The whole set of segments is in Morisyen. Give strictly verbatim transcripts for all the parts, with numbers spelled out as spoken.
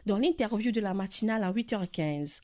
dans l'interview de la matinale à huit heures quinze.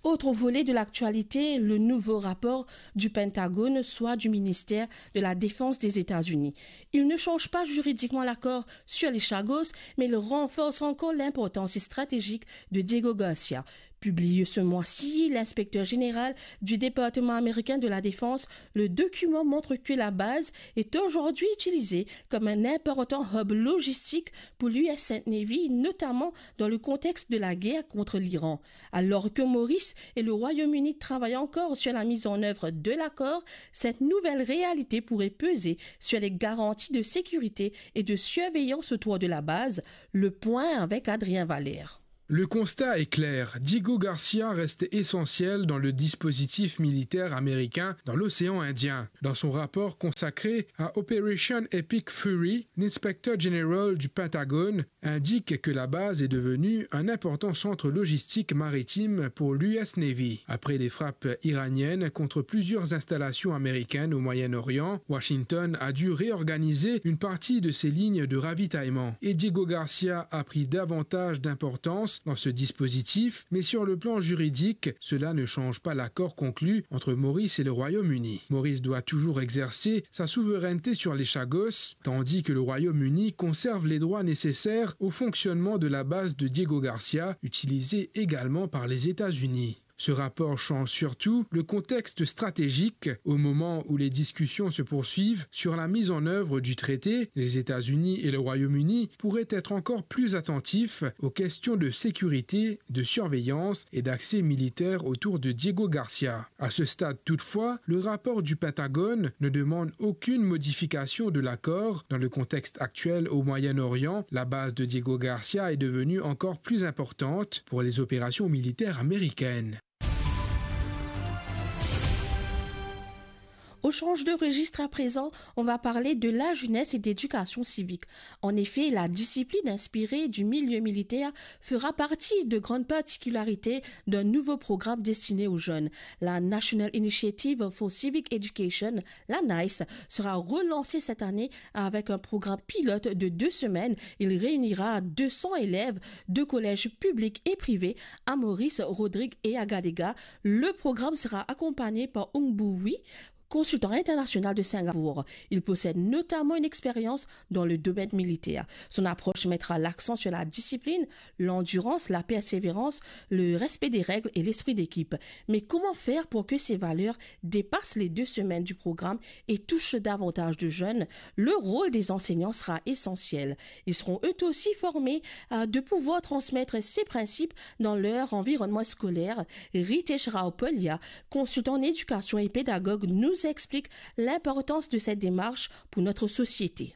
Autre volet de l'actualité, le nouveau rapport du Pentagone, soit du ministère de la Défense des États-Unis. Il ne change pas juridiquement l'accord sur les Chagos, mais il renforce encore l'importance stratégique de Diego Garcia. Publié ce mois-ci, l'inspecteur général du département américain de la Défense, le document montre que la base est aujourd'hui utilisée comme un important hub logistique pour l'U S Navy, notamment dans le contexte de la guerre contre l'Iran. Alors que Maurice et le Royaume-Uni travaillent encore sur la mise en œuvre de l'accord, cette nouvelle réalité pourrait peser sur les garanties de sécurité et de surveillance autour de la base. Le point avec Adrien Valère. Le constat est clair, Diego Garcia reste essentiel dans le dispositif militaire américain dans l'océan Indien. Dans son rapport consacré à Operation Epic Fury, l'inspecteur général du Pentagone indique que la base est devenue un important centre logistique maritime pour l'U S Navy. Après les frappes iraniennes contre plusieurs installations américaines au Moyen-Orient, Washington a dû réorganiser une partie de ses lignes de ravitaillement. Et Diego Garcia a pris davantage d'importance dans ce dispositif, mais sur le plan juridique, cela ne change pas l'accord conclu entre Maurice et le Royaume-Uni. Maurice doit toujours exercer sa souveraineté sur les Chagos, tandis que le Royaume-Uni conserve les droits nécessaires au fonctionnement de la base de Diego Garcia, utilisée également par les États-Unis. Ce rapport change surtout le contexte stratégique au moment où les discussions se poursuivent sur la mise en œuvre du traité. Les États-Unis et le Royaume-Uni pourraient être encore plus attentifs aux questions de sécurité, de surveillance et d'accès militaire autour de Diego Garcia. À ce stade toutefois, le rapport du Pentagone ne demande aucune modification de l'accord. Dans le contexte actuel au Moyen-Orient, la base de Diego Garcia est devenue encore plus importante pour les opérations militaires américaines. On change de registre à présent, on va parler de la jeunesse et d'éducation civique. En effet, la discipline inspirée du milieu militaire fera partie de grandes particularités d'un nouveau programme destiné aux jeunes. La National Initiative for Civic Education, la NICE, sera relancée cette année avec un programme pilote de deux semaines. Il réunira deux cents élèves de collèges publics et privés à Maurice, Rodrigues et à Gadega. Le programme sera accompagné par Ung Bu Wi, consultant international de Singapour. Il possède notamment une expérience dans le domaine militaire. Son approche mettra l'accent sur la discipline, l'endurance, la persévérance, le respect des règles et l'esprit d'équipe. Mais comment faire pour que ces valeurs dépassent les deux semaines du programme et touchent davantage de jeunes ? Le rôle des enseignants sera essentiel. Ils seront eux aussi formés à de pouvoir transmettre ces principes dans leur environnement scolaire. Ritesh Rao Polya, consultant en éducation et pédagogue, nous explique l'importance de cette démarche pour notre société.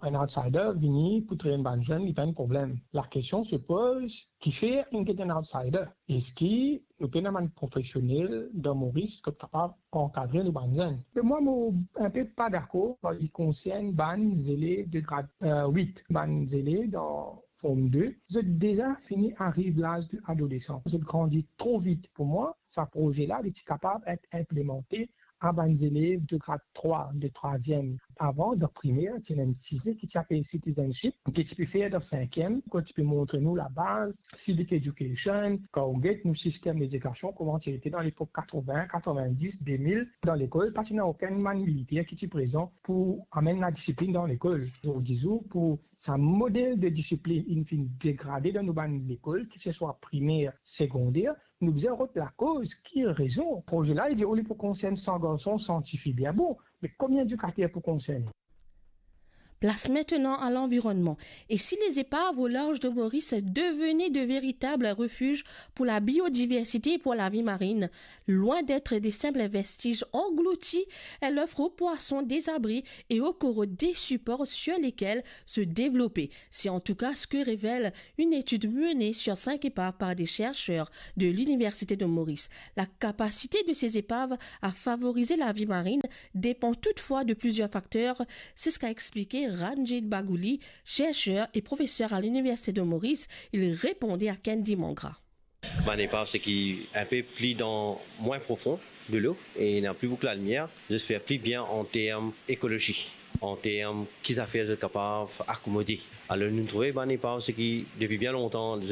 Enn outsider vini pou trenn bann zenn, li pa enn problem. La kestion se poz, kifer inn get enn outsider? Eski nou pena bann profesionel dan Moris ki kapav ankadre nou bann zenn? E mwa, mo enpe pa dakor kan li konsern bann zelev de grad, euh, wit, bann zelev dan Form de, zot deza fini ariv laz de adolesan. Zot grandi tro vit. Pou mwa, sa proze la, li ti kapav et inplemante a bann zelev de grad trwa, de trwaziem. Avan, dan primer, ti ena enn size ki ti apel citizenship, ki ti pe fer dan sinkiem, kot ti pe montre nou labaz, civic education, kan ou get nou sistem ledikasion, kouma ti ete dan lepok katrovin, katrevindis, de mil, dan lekol, pa ti ena okenn bann militer ki ti prezan pou amenn ladisiplin dan lekol. Zordi zour, pou sa model de disiplin inn finn degrade dan nou bann lekol, ki se swa primer, segonder, nou bizin rod lakoz, ki rezon. Proze la, li dir, oli pou konsern san garson, san tifi, bien bon, me konbien edikater pou konserne? Place maintenant à l'environnement. Et si les épaves au large de Maurice devenaient de véritables refuges pour la biodiversité et pour la vie marine, loin d'être des simples vestiges engloutis, elles offrent aux poissons des abris et aux coraux des supports sur lesquels se développer. C'est en tout cas ce que révèle une étude menée sur cinq épaves par des chercheurs de l'Université de Maurice. La capacité de ces épaves à favoriser la vie marine dépend toutefois de plusieurs facteurs. C'est ce qu'a expliqué Ranjit Bagouli, chercheur et professeur à l'Université de Maurice. Il répondait à Candy Mangra. Bann epav seki inpe pli dan, mwin profon delo e ena pli boukou lalimier, zot fer pli bien an term ekolozi, an term ki zafer zot kapav akomode. Alor, nou trouve bann epav seki depi bien lontan,